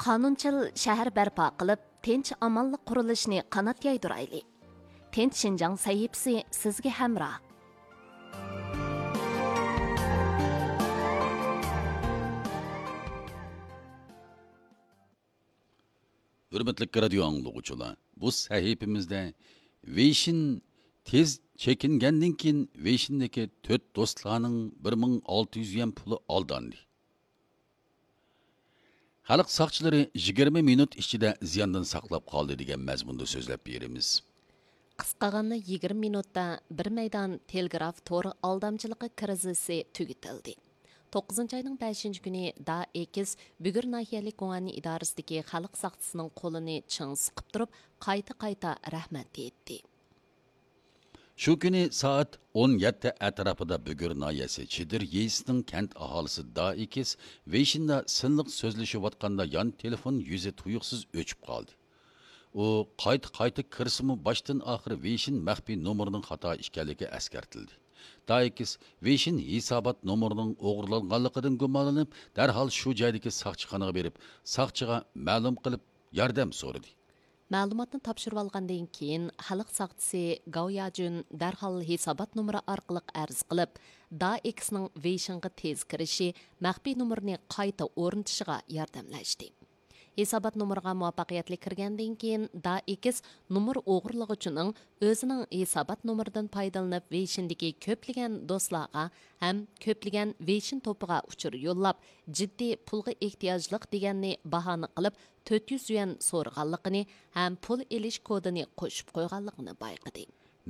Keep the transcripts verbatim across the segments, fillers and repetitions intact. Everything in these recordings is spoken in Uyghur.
قانۇنچىل شەھەر بەرپا قىلىپ، تىنچ-ئامانلىق قۇرۇلۇشىنى قانات يايدۇرايلى. تىنچ شىنجاڭ سەھىپىسى سىزگە ھەمراھ. ھۆرمەتلىك رادىيو ئاڭلىغۇچىلار، بۇ سەھىپىمىزدە ۋېيشىن تېز چېكىنگەندىن كېيىن، ۋېيشىندىكى تۆت دوستلارنىڭ بىر مىڭ ئالتە يۈز يۈەن پۇلى ئالداندى. خەلق ساقچىلىرى يىگىرمە مىنۇت ئىچىدە زىياندىن ساقلاپ قالدى دېگەن مەزمۇندا سۆزلەپ بېرىمىز. قىسقىغاندا يىگىرمە مىنۇتتا بىر مەيدان تېلېگراف تور ئالدامچىلىقى كىرىزىسى تۈگىتىلدى. توققۇزىنچى ئاينىڭ بەشىنچى كۈنى دا ئېكس بۈگۈر ناھىيەلىك گۇڭئەننى ئىدارىسىدىكى خەلق ساقچىسىنىڭ قولىنى چىڭ سىقىپ تۇرۇپ، قايتا-قايتا رەھمەت دېيىتتى. شۇ كۈنى سائەت ئون يەتتە ئەتراپىدا بۈگۈر ناھىيەسى چېدىر يېزىسىنىڭ كەنت ئاھالىسى دا ئېكس ۋېيشىندا سىنلىق سۆزلىشىۋاتقاندا يان تېلېفون يۈزى تۇيۇقسىز ئۆچۈپ قالدى. ئۇ قايتا-قايتا كىرسىمۇ، باشتىن-ئاخىر ۋېيشىن مەخپىي نومۇرىنىڭ خاتا ئىكەنلىكى ئەسكەرتىلدى. دا ئېكس ۋېيشىن ھېسابات نومۇرىنىڭ ئوغرىلانغانلىقىدىن گۇمانلىنىپ، دەرھال شۇ جايدىكى ساقچىخانىغا بېرىپ، ساقچىغا مەلۇم قىلىپ، ياردەم سورىدى. مەلۇماتنى تاپشۇرۇۋالغاندىن كېيىن، خەلق ساقچىسى گاۋ ياجۈن دەرھال ھېسابات نومۇرى ئارقىلىق ئەرز قىلىپ، دا ئېكسنىڭ ۋېيشىنغا تېز كىرىشى، مەخپىي نومۇرنى قايتا ئورنىتىشىغا ياردەملەشتى. ھېسابات نومۇرىغا مۇۋەپپەقىيەتلىك كىرگەندىن كېيىن، دا ئېكس نومۇر ئوغرىلىغۇچىنىڭ ئۆزىنىڭ ھېسابات نومۇرىدىن پايدىلىنىپ، ۋېيشىندىكى كۆپلىگەن دوستلارغا ھەم كۆپلىگەن ۋېيشىن توپىغا ئۇچۇر يوللاپ، جىددىي پۇلغا ئېھتىياجلىق دېگەننى باھانە قىلىپ، تۆت يۈز يۈەن سورىغانلىقىنى ھەم پۇل ئېلىش كودىنى قوشۇپ قويغانلىقىنى بايقىدى.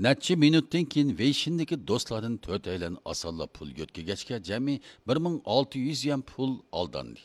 نەچچە مىنۇتتىن كېيىن ۋېيشىندىكى دوستلاردىن تۆتەيلەن ئاسانلا پۇل يۆتكىگەچكە، جەمئىي بىر مىڭ ئالتە يۈز يۈەن پۇل ئالداندى.